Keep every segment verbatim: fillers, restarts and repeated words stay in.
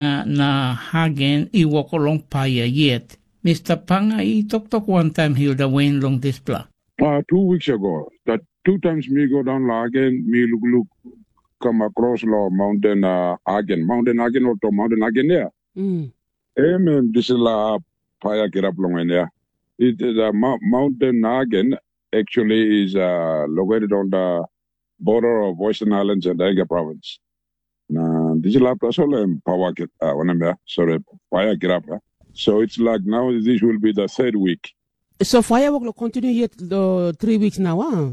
na Hagen i wok long paia yet. Mista Panga i toktok wantaim Hilda Wen long dispela. Uh, two weeks ago, that two times me go down Hagen, me look look come across lo mountain uh, Hagen, mountain Hagen or to mountain Hagen there. Mm. Em em dispela paia kirap long en ya. It is a mou- mountain Hagen actually is uh, located on the border of Western Islands and Anga province. Na dispela tasol em pawa kit, uh, wanem ya, sorry, paia kirap ya. So it's like now this will be the third week. So paia wok lo continue yet the three weeks now, ah?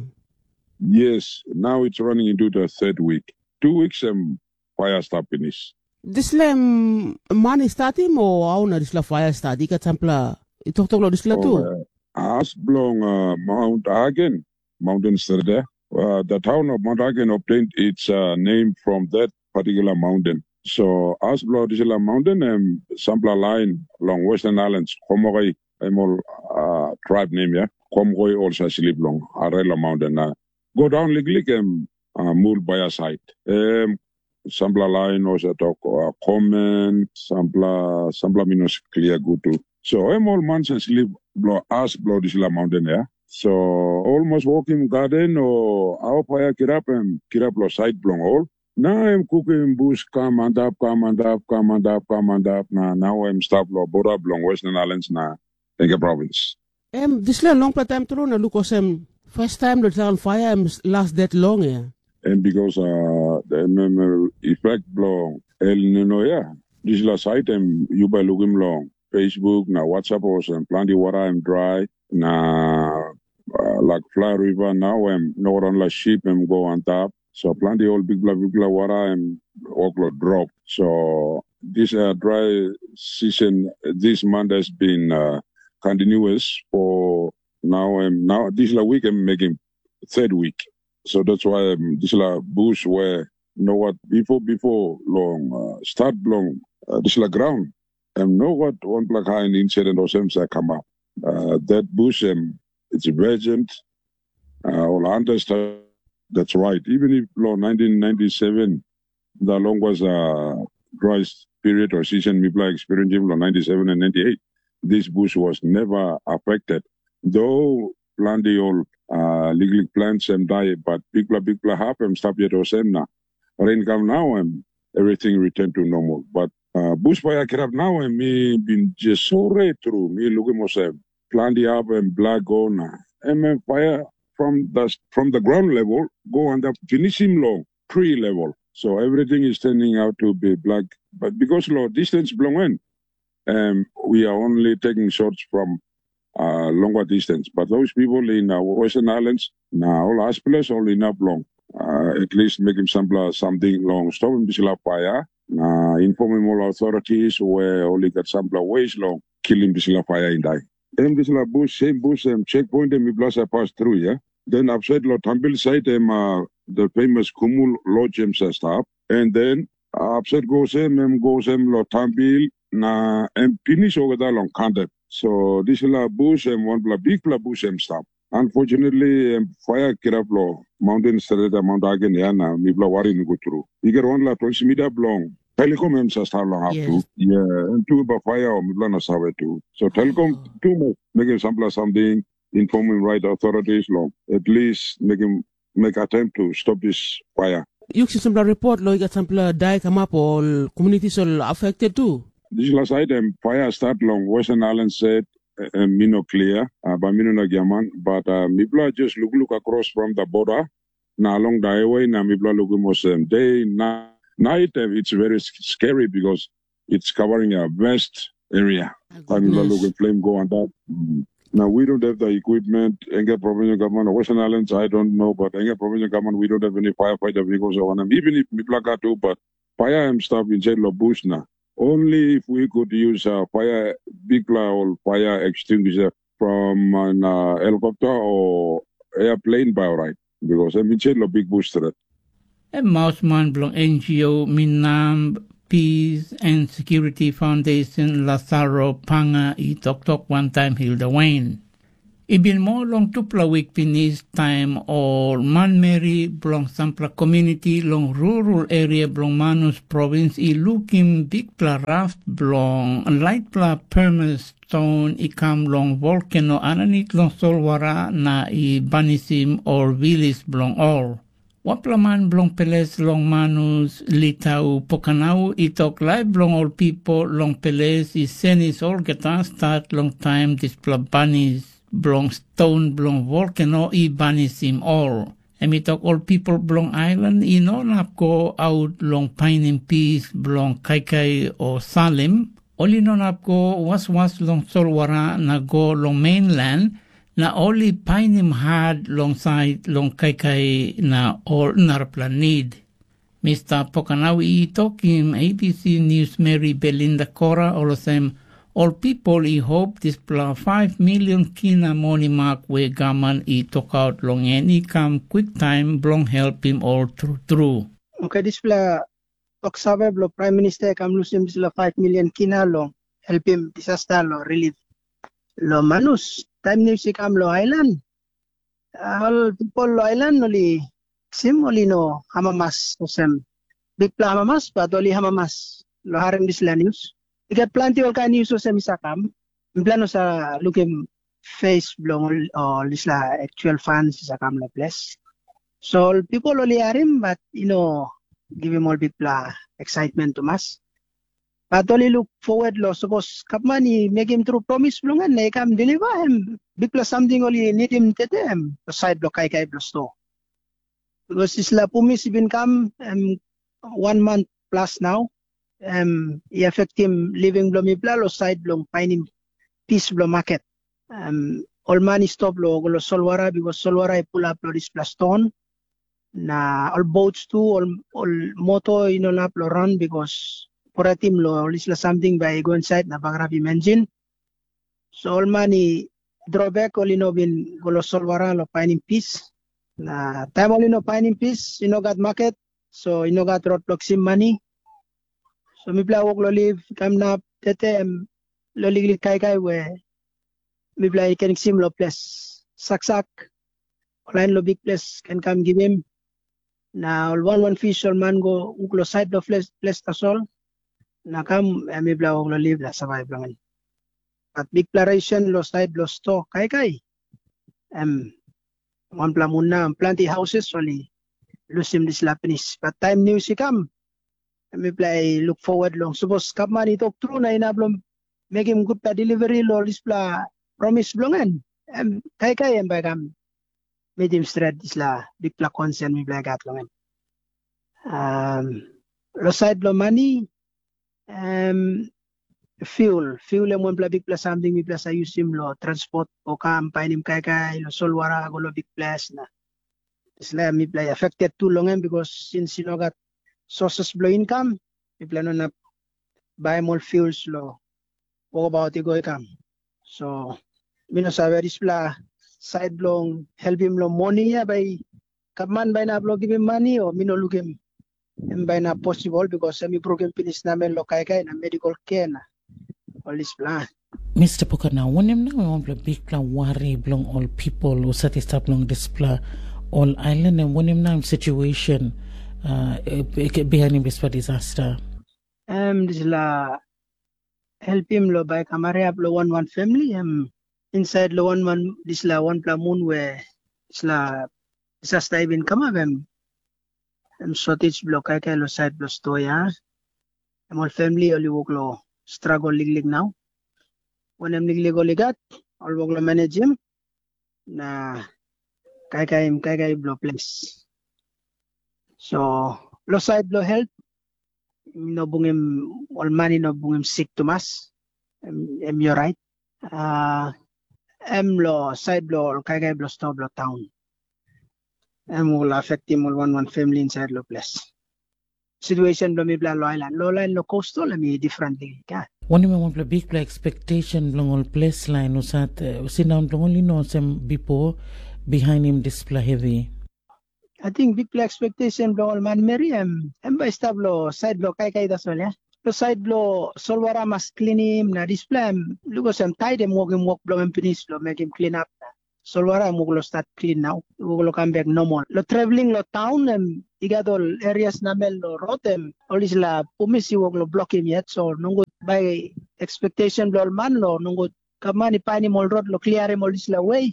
Yes, now it's running into the third week. Two weeks em paia stop finish. Dispela em man i statim o au na dispela paia stat? I gat sampela i toktok lo dispela tu. Oh, uh, as belong uh, Mount Hagen, mountain strata. Uh, the town of Mount Hagen obtained its uh, name from that particular mountain. So as belong dispela mountain em sampela lain long Western Islands, Komokoi em ol uh, tribe name ya. Komokoi ol sa slip long Arela mountain na go down liklik em uh, mul by a side. Em sampela lain olsem tok uh, komen, sampela sampela mi no klia gut tu. So em ol man sa slip blo as blo dispela mountain ya. So olmos wokim gaden o au paia kirap em kirap lo sait bilong ol. Na em kukim bus kam antap kam antap kam antap kam antap na nau em stap lo bora bilong Western Islands na Enge provins. Em dispela longpela taim tru na luk olsem, pastaim lo taun paia em las det long ya. Em bikas uh, em, em, efek bilong El Nino ya. Dispela sait em yu bai lukim long Facebook na WhatsApp olsem planti wara em drai na uh, like Fly River nau em no wanpela sip em go antap. So planti ol bikpela bikpela wara em wok lo drop. So this uh, dry season this month has been uh, continuous for now and now this la week I'm making third week. So that's why um, this la bush where you know what before before long uh, start long uh, this la ground and no what one black high incident or same sa come up. Uh, that bush um, it's a virgin uh, or understand that's right. Even if long nineteen ninety-seven the longest uh, dry period or season mipla experiencing from ninety-seven and ninety-eight. This bush was never affected. Though plenty old uh, legal plants and die, but bigla bigla hap em stop yet osem na. Rain come now and everything returned to normal. But uh, bushfire kirap now and me been just so red through. Me looking osem. Plenty up and black go na. And then fire from the from the ground level go and up finish him long. Tree level. So everything is turning out to be black. But because lo distance belong in, um, we are only taking shots from uh, longer distance. But those people in uh, Western Islands, na all hospitals all enough long. Uh, at least make him sampler something long. Stop him this fire. Na inform him all authorities where only got sampler ways long. Kill him this fire in die. Em dispela bus, sem bus, em checkpoint em i blasa pas tru, ya. Den apsait lo Tambil sait em uh, the famous Kumul Lodge em sa stap. And then uh, apsait go sem em go sem lo Tambil na em pinis olgeta long Kandep. So dispela bus em wanpela bikpela bus em stap. Unfortunately, em fire kirap lo mountain straight Mount Hagen ya na mipela wari no go tru. I get wanpela twenty mita bilong Telecom em sa stap long hap tu. Yes. Yeah, em tu ba fire o mipela na save tu. So Telecom tu mo mekim sampela something informing right authorities long at least make him make attempt to stop this fire. Yu kisim sampela report lo i gat sampela dai kamap ol communities ol affected tu. This last item fire start long Western Island said uh, mi no clear, uh, but mi no na giaman, but uh, mipela just look look across from the border. Na along the highway na mipela looking osem day na night uh, it's very s- scary because it's covering a vast area. Taim mipela looking flame go on top. Mm. Now we don't have the equipment. Enge provincial government or Western Islands, I don't know, but Enge provincial government, we don't have any firefighter vehicles or one. Even if mipela got to, but fire and stuff inside the bush now. Only if we could use a fire, big or fire extinguisher from an uh, helicopter or airplane by right, because I'm inside the big bush threat. Em mausman bilong N G O Minam Peace and Security Foundation Lazaro Panga i toktok wantaim Hilda Wayne. I bin moa long tupela wik pinis taim ol manmeri bilong sampela komuniti long rurul eria bilong Manus provins i lukim bikpela raft bilong laitpela permas ston i kam long volkeno aninit long solwara na i banisim ol vilis bilong ol. Wanpela man bilong ples long Manus, Litau Pokanau, i tok laip bilong ol pipel long ples i senis olgeta stat long taim dispela banis bilong ston bilong volkeno i banisim ol. Em i tok ol pipel bilong ailan i no inap go aut long painim pis bilong kaikai o salim, ol i no inap go waswas long solwara na go long mainland, na ol i painim hat long sait long kaikai na ol narapela nid. Mista Pokanau i tokim A B C News meri Belinda Kora olsem, ol pipel i hop dispela five milion kina moni mak we gavman i tokaut long en i kam kwiktaim bilong helpim ol tru tru. Oke, dispela toksave bilong Pram Minista i kam lusim dispela five milion kina long helpim disasta long rilif long Manus. Taim nius i kam long ailan, ol pipel long ailan ol i kisim ol i no amamas olsem bikpela amamas, bat ol i amamas long harim dispela nius. I gat planti ol kain nius olsem i sa kam. Mipela no sa lukim fes bilong ol, ol dispela aktual fans i sa kam long ples. So ol pipel ol i harim, bat i no givim ol bikpela excitement tumas. Bat ol i luk forward long sapos gavman i mekim tru promis bilong en na i kam deliver em bikpela samting ol i nidim tete em sait bilong kaikai bilong sto. Bikos dispela pumis i bin kam em wan man plus nau, em i afektim living bilong mipela long sait bilong painim pis bilong maket. Em, ol man i stop long go long solwara bikos solwara i pulap long dispela ston. Na ol boats tu, ol, ol moto i no inap long ran bikos poratim long ol dispela samting bai i go insait na bagarapim enjin. So ol man i dropbek ol i no bin go long solwara long painim pis. Na taim ol i no painim pis, i no gat maket, so i no gat rot bilong kisim mani. So mipela wok long liv kam nap tete em long liklik kaikai we mipela i ken kisim long ples saksak, ol lain long bikples ken kam givim. Na ol wan wan fis ol man go wuk long sait long ples, ples tasol, na kam em mipela wok long liv na savaip long en. Bat bikpela resen long sait long sto kaikai, em wanpela mun na planti hauses ol i lusim dispela pinis. Bat taim nius i kam, em mipela i luk forward long sapos gavman i tok tru na inap long mekim gutpela delivery long dispela promis bilong en, em kaikai em bai kam metim stret dispela bikpela konsen mipela i gat long en. Um, long sait bilong mani, um, fuel, fuel em wanpela bikpela samting mipela sa yusim long transport o kam painim kaikai long solwara go long bikples na dispela mipela i affected tu long em bikos sins i no gat sources bilong income, mipela no inap baim ol fuels long wokabaut i go i kam. So mi no save dispela sait bilong helpim long moni ya bai gavman bai inap long givim mani o mi no lukim em bai inap posibel bikos em i brukim pinis namel long kaikai na medical care na ol dispela. Mista Puka, na wanem nau em wanpela bikpela wari bilong ol pipel husat i stap long dispela ol ailan, em wanem nau em situesen uh, bihainim dispela disasta? Em dispela helpim long bai kamariap long wan wan famili, em insait long wan wan dispela wanpela mun we dispela disasta i bin kamap, em em shortage bilong kaikai long sait bilong sto ya. Em ol famili ol i wok long stragol liklik nau. Wanem liklik ol i gat, ol wok long manejim na kaikaim kaikai bilong ples. So long sait bilong helt, no bungim ol man i no bungim sik tumas, em, em i orait. Uh, em long sait bilong ol kaikai bilong sto bilong taun. Em ol afektim ol wan wan famili insait long ples. Situesen bilong mipela long ailan, long lain long coastal em i differently, ya. Wanem em wanpela bikpela expectation bilong ol ples lain husat uh, sindaun bilong ol i no olsem bipo bihainim dispela hevi? Ating bikpela expectation bilong ol manmeri em em bai i stap long sait bilong kaikai tasol, ya. Long sait bilong solwara mas klinim na dispela em lukos em tait em wokim wok bilong em pinis long mekim klinap na solwara em wok long stat klin nau, wok long kam bek normal. Long traveling long taun em i gat ol erias namel long rot em ol dispela pumis i wok long blokim yet, so nogut bai ekspektesen bilong ol man long nogut gavman i painim ol rot long kliarim ol dispela we,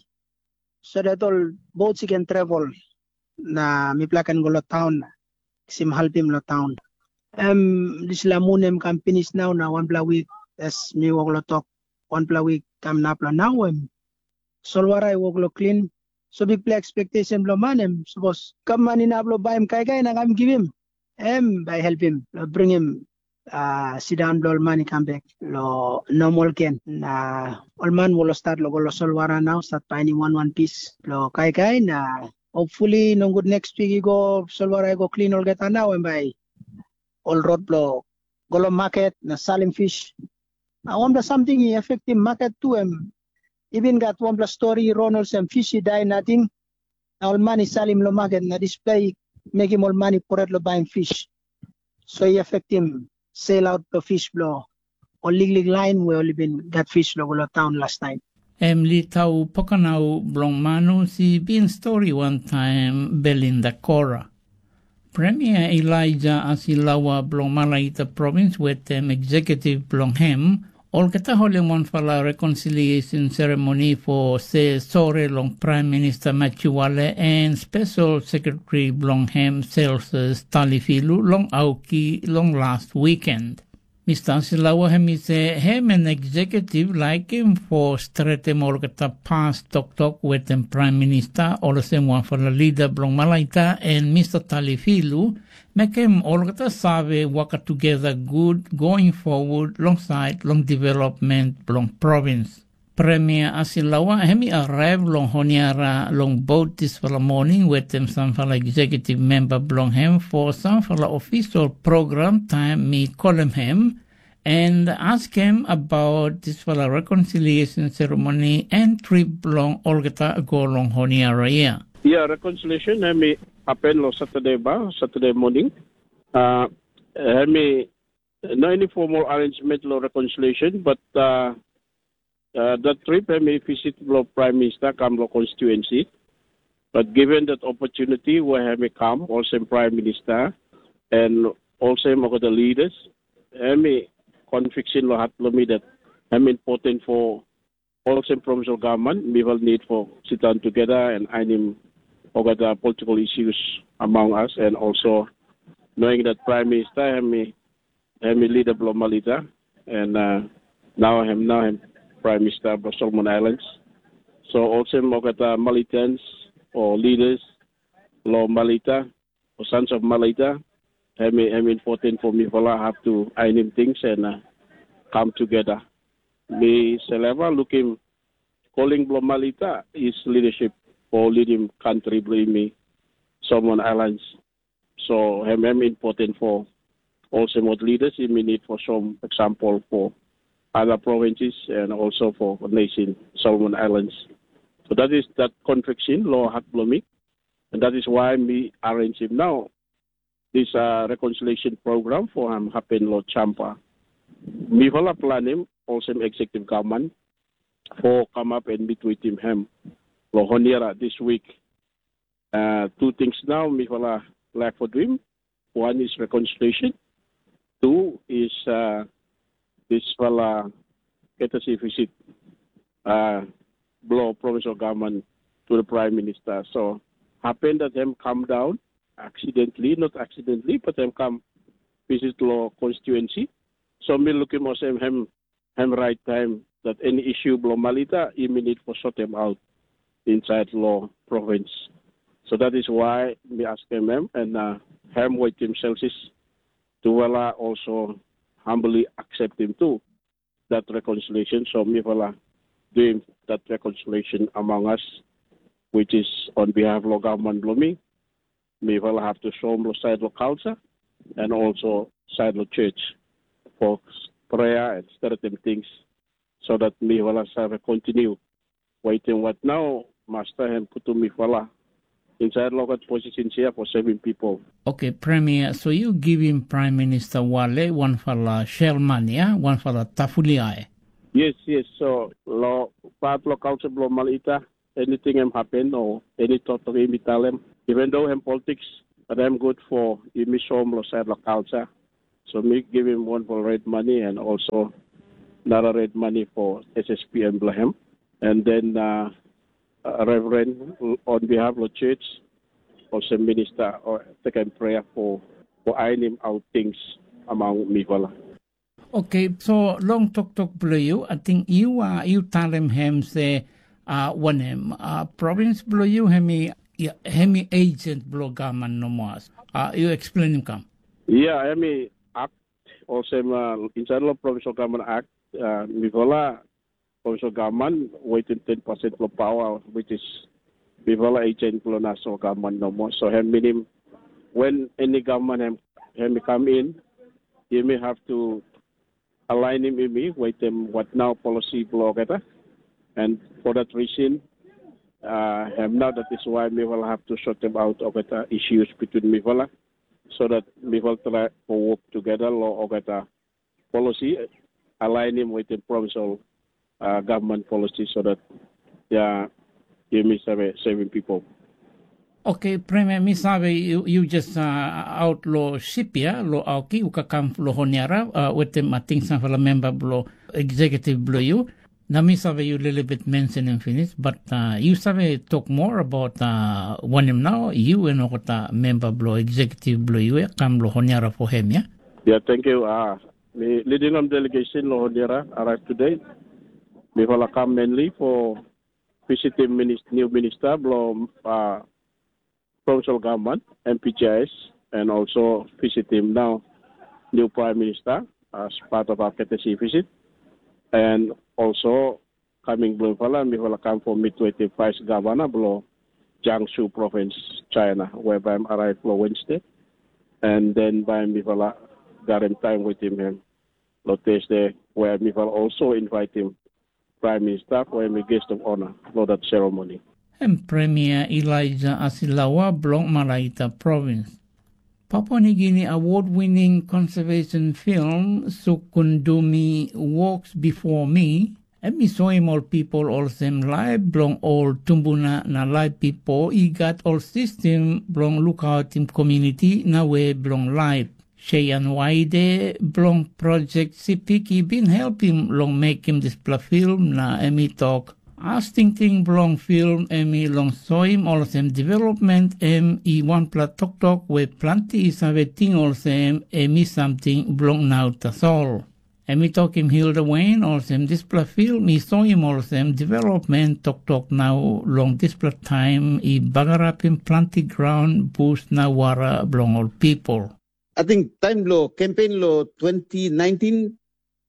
so dat ol boats i ken travel na mipela ken go long taun na kisim helpim long taun. Em dispela mun em kam pinis nau na wanpela wik, as mi wok long tok, wanpela wik kam nap long nau em solwara i wok long klin. So bikpela ekspektesen bilong man em sapos gavman inap long baim kaikai na kam givim, em bai helpim long bringim uh, sindaun bilong ol man i kam bek long normal gen. Na ol man ol stat long go long solwara nau, stat painim wan wan pis bilong kaikai na hopefully nogut next week i go solwara i go klin olgeta nau em bai ol rot bilong go long maket na salim fish. Na wanpela samting i afektim maket tu em i bin gat wanpela stori i ron olsem fish i dai nating, na ol man i salim long maket na dispela i mekim ol man i pret long baim fish. So i afektim selaut bilong fish bilong ol liklik lain we ol i bin gat fish long ol taun last taim. Em Litau Pokanau bilong Manus i bin stori wantaim Belinda Kora. Premier Elijah Asilawa bilong Malaita provins wetem eksekutiv bilong em, olgeta holim wanpela reconciliation ceremony for se sore long Prime Minister Machuale and Special Secretary bilong em Celsus Talifilu long Auki long last weekend. Mister Silawa em i se em en eksekutiv laikim for stretim olgeta pas toktok wetem Prime Minister olsem wanpela lida bilong Malaita en Mister Talifilu, mekim olgeta save waka tugeta gut going forward long sait long development bilong provins. Premier Asilawa em i arrive long Honiara long bot dispela moning wetem sampela eksekutiv memba bilong em for sampela ofisal program taim mi kolim em, and askim about dispela reconciliation ceremony and trip bilong olgeta go long Honiara ia. Yeah, reconciliation em i happen long Saturday ba, Saturday morning. Uh, em i no any formal arrangement long reconciliation, but uh, uh, that trip em i visit long Prime Minister come long constituency. But given that opportunity where em i come olsem Prime Minister and olsem olgeta leaders, em i conviction long hat bilong mi that em important for olsem provincial government, we will need for sit down together and aim olgeta political issues among us and also knowing that Prime Minister em i em i leader bilong Malita, and uh, now him now him Prime Minister of Solomon Islands. So olsem olgeta Malitans or leaders lo Malita or sons of Malita, em i em important for mipela have to ainim things and uh, come together. Mi seleva lukim calling bilong Malita is leadership for leading country bilong mi Solomon Islands. So em em important for olsem ol leaders, yumi need for some example for other provinces and also for nation Solomon Islands. So that is that conviction lo hat bilong mi, and that is why mi arrange him now. This uh, reconciliation program for him happen lo Champa. Mi vala plan him olsem executive government for come up and meet with him hem lo Honiara this week. Uh, two things now mipela lack for doing. One is reconciliation. Two is uh, this fella courtesy visit uh, below provincial government to the prime minister. So happen that him come down accidentally, not accidentally, but him come visit law constituency. So me look him as him, him him right time that any issue below Malita, he may need for sort him out inside law province. So that is why me ask him, him and uh, him with himself is Tuwala also humbly accept him too, that reconciliation. So Mivala doing that reconciliation among us, which is on behalf of government below me. Mivala have to show him side of culture and also side of church for prayer and certain things so that Mivala serve continue. Waiting what now, Master and Kutu Mivala inside local position here for saving people. Okay, Premier, so you give him Prime Minister Wale, one fala Shelmania, one fala Tafuliae. Yes, yes. So lo part lo culture blo Malita, anything em happen o any toktok em i talem, even though em politics, but em good for yumi show long side long culture. So mi givim one for red money and also another red money for S S P M bilong em. And then uh, uh, Reverend on behalf of church, also minister or second prayer for for ironing out things among mifala. Okay, so long toktok bilong you, I think you uh, you talem him say uh, when him uh, province bilong you hemi yeah, hemi agent bilong government no more. Uh, you explain him come. Yeah, I mean, act also uh, inside of provincial government act, uh, mifala provincial government waiting ten percent for power, which is mifala agent for national government no more. So him meaning when any government him, him come in, you may have to align him with me, wait them what now policy blow together. And for that reason, uh, him now that is why we will have to sort them out of the issues between mifala, so that we will try to work together law of the policy, align him with the provincial uh, government policy so that yeah, you may save saving people. Okay, Premier, mi save you, you just uh, out lo ship ya, lo auki, uka kam lo honiara, uh, wetem ating sanfala member blo executive blo you. Na mi save you little bit mention him finish, but uh, you save talk more about uh, wanem now, you and okota member blo executive blo you ya, kam lo honiara for him ya. Yeah, thank you. Uh, mi leading on delegation lo honiara arrived today. Mi fala kam mainly for visiting minister, new minister blo uh, provincial government, M P G I S, and also visit him now, new prime minister, as part of our courtesy visit. And also coming Blumenfala, mi will come for meet with the vice governor below Jiangsu province, China, whereby I'm arrived for Wednesday. And then by mi will garim time with him, him lo Thursday, where mi will also invite him Prime Minister for a guest of honor for that ceremony. Em Premier Elijah Asilawa bilong Malaita Province. Papua Nigini award-winning conservation film Sukundumi Walks Before Me, em i soim ol pipol olsem laip bilong ol tumbuna na laip bipo i gat ol sistem bilong lukautim komuniti na we bilong laip. Cheyenne Waide bilong Projek Sipik i bin helpim long mekim dispela film na em i tok, as tingting bilong film em i long soim olsem development em i wanpela toktok we planti i save ting olsem em i samting bilong nau tasol. Em i tokim Hilda Wain olsem dispela film i soim olsem development toktok nau long dispela taim i bagarapim planti graun, bus na wara bilong ol pipul. Ating taim bilong kempen long twenty nineteen,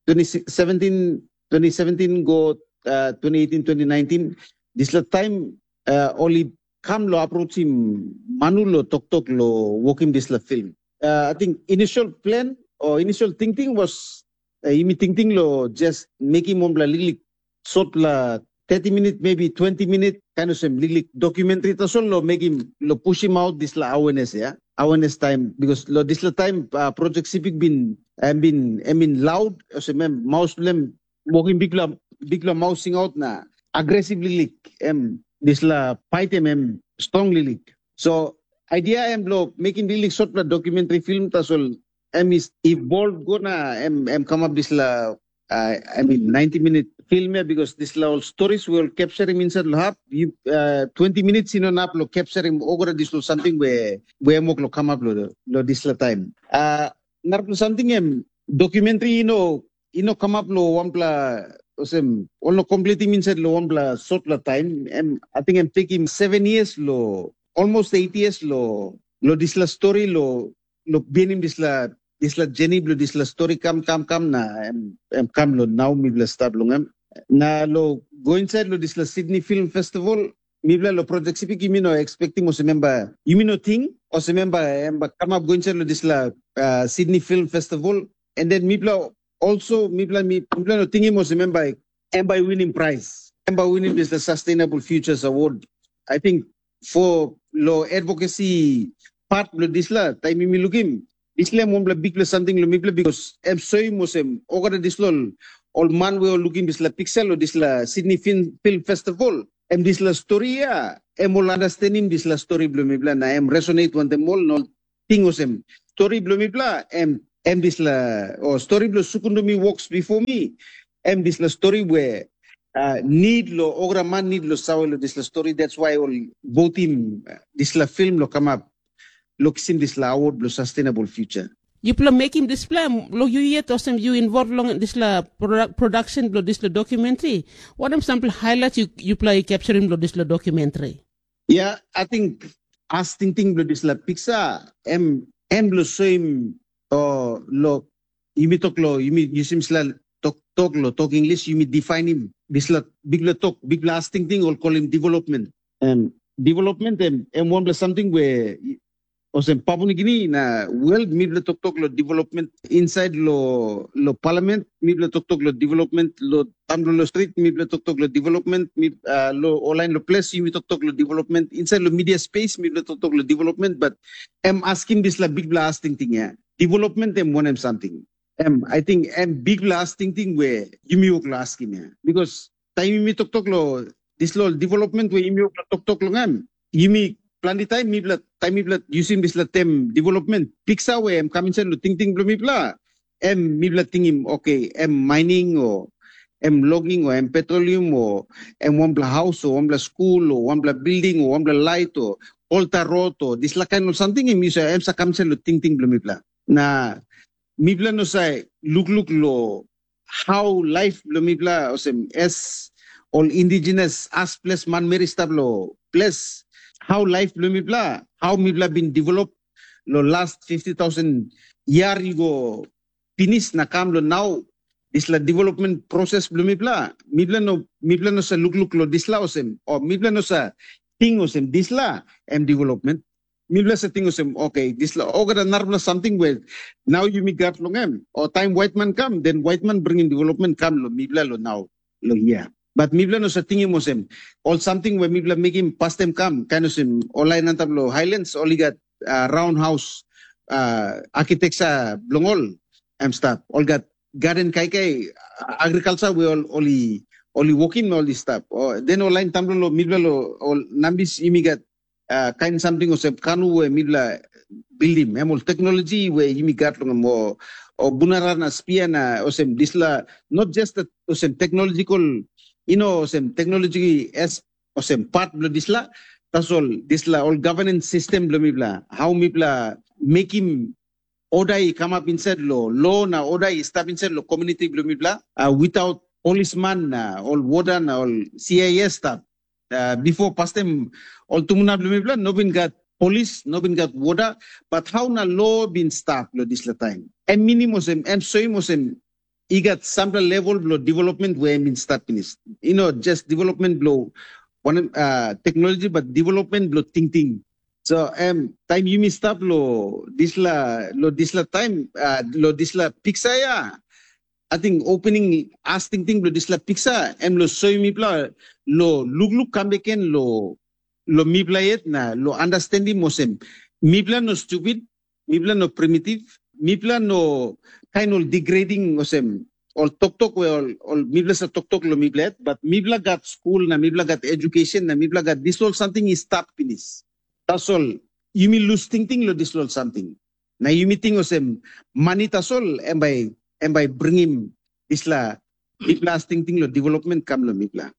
twenty seventeen, twenty seventeen go uh, twenty eighteen, twenty nineteen, dispela taim uh, ol i kam long aprochim manu long toktok long wokim dispela film. Uh, ating initial plan o initial tingting was uh, yumi tingting long just mekim wanpela liklik sotpela thirty minit, maybe twenty minit, kain olsem liklik documentary tasol lo mekim lo pusim aut dispela awareness ya, awareness taim, because lo dispela taim uh, project sipik bin em bin em bin laud olsem em maus bilem wokim bikpela bikpela maus singaut na aggressive liklik em dispela paitem em strong liklik. So idea em lo mekim liklik sotpela documentary film tasol em is evolved go na em em kamap dispela uh, I mean, ninety minute film here because this la all stories we all capture him inside lo hap. You uh, twenty minutes you know nap lo capture him over this lo something where where mok lo come up lo lo this la time. Uh, narapla something em documentary you know you know come up lo one pla osem all no complete him inside lo one pla short la time. Em I think em take him seven years lo almost eight years lo lo this la story lo lo bihainim dispela dispela jeni bilong dispela stori kam kam kam na em em kam long nau mipela stap long em. Na long go insait long dispela Sydney Film Festival, mipela long Projek Sipik yumi no expectim olsem em bai yumi no ting olsem em bai em bai kamap go insait long dispela uh, Sydney Film Festival. And then mipela also mipela mipela no tingim olsem em bai em bai winim prais, em bai winim dispela Sustainable Futures Award. I think for lo advocacy part lo disla taim yumi lukim disla em wanpela bikpela samting lo mipela because em soim olsem olgeta disla ol man we ol lukim dispela piksa lo dispela Sydney Film, Film Festival em dispela stori ya, em ol understandim dispela stori bilong mipela na em resonate wantaim ol na ol ting olsem, stori bilong mipela em em dispela, o stori bilong sukundumi woks bipo mi, em dispela stori we uh, nid lo ogra man nid lo sawe lo dispela stori. That's why ol votim uh, dispela film lo kamap lo kisim dispela award lo sustainable future. Yupela mekim dispela, lo yu yet olsem yu involve long dispela produ- production bilong dispela documentary. Wanem sampela highlights yu, yupela i capturim long dispela documentary? Ya, I think as tingting bilong dispela piksa, em em lo soim o lo yumi tok lo yumi yusim sla tok tok lo tok English yumi definim dispela bikpela tok bikpela as tingting ol kolim development. Em development em em wanpela something we olsem Papua New Guinea na world mipela toktok lo development inside lo lo parliament, mipela toktok lo development lo tamlo lo street, mipela toktok lo development, mip, uh, lo online lo place yumi toktok lo development, inside lo media space mipela toktok lo development, but em askim dispela bikpela as tingting ya. Development em wanem something? Em, I think em bikpela as tingting we yumi wok lo askim ya. Because taim yumi toktok lo dispela ol development we yumi wok lo toktok long em, yumi planti taim mipela taim mipela yusim dispela tem development piksa we em kam insait lo tingting bilong mipela, em mipela tingim oke, em mining o em logging o em petroleum o em wanpela haus o wanpela skul o wanpela bilding o wanpela lait o olta rot o dispela kain ol samting em yu sa em sa kam insait lo tingting bilong mipela. Na mipela no sa lukluk lo hau laip bilong mipela olsem es ol indigenous as ples manmeri i stap long ples, hau laip bilong mipela, hau mipela bin develop long last fifty thousand yia i go pinis na kam long nau, dispela development proses bilong mipela, mipela no mipela no sa lukluk long dispela olsem, o mipela no sa ting olsem dispela em development. Mipela sa ting olsem, oke, dispela olgeta narapela samting we nau yumi gat long em, o taim waitman kam, den waitman bringim development kam long mipela long nau, long hia. Bat mipela no sa tingim olsem, ol samting we mipela mekim pastaim kam, kain olsem, ol lain antap long Highlands, ol i gat uh, roundhouse uh, architecture bilong ol, em stap. Ol gat garden kaikai, agriculture we ol, ol i ol i wokim na ol i stap. O, den ol lain tamlo lo mipela lo ol nambis yumi gat uh, kain samting olsem kanu we mipela bildim, em ol teknologi we yumi gat long em, o, o bunara na spia na olsem dispela, not just that olsem technological, you know, olsem technology as olsem part bilong dispela, tasol dispela ol governance system bilong mipela, how mipela mekim oda i kamap insait lo lo na oda i stap insait lo komuniti bilong mipela, uh, without polisman na ol woda na ol C I S stap. Uh, bipo pastaim ol tumbuna bilong mipela no bin gat polis, no bin gat woda, bat hau na lo bin stap long dispela taim? Em minim olsem, em soim olsem, i gat sampela level bilong development we em bin stap pinis. I no just development bilong wanem uh, teknologi, bat development bilong tingting. So em taim yumi stap lo dispela lo dispela taim uh, lo dispela piksa ya, ating opening as tingting bilong dispela piksa em lo soim mipela lo lukluk kam beken lo lo mipela yet na lo understandim olsem mipela no stupid, mipela no primitive, mipela no kain ol degrading olsem ol toktok we ol, ol mipela sa toktok lo mipela yet, but mipela gat skul na mipela gat education na mipela gat dispela ol samting i stap pinis. Tasol yumi lus tingting lo dispela ol samting. Na yumi ting olsem mani tasol em bai em bai bringim dispela bikpela as tingting lo development kam lo mipela.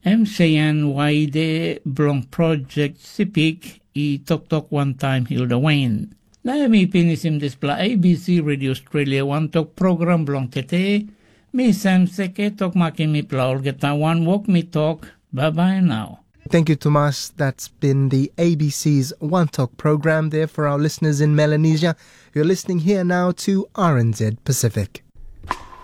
M C N Waide bilong projek Sipik i toktok wantaim Hilda Wain. Na em i pinisim dispela A B C Radio Australia wantok program bilong tete. Mi Sam Seke tok makim mipela olgeta wanwok mi tok, bye bye now. Thank you, Tomas. That's been the A B C's One Talk program there for our listeners in Melanesia. You're listening here now to R N Z Pacific.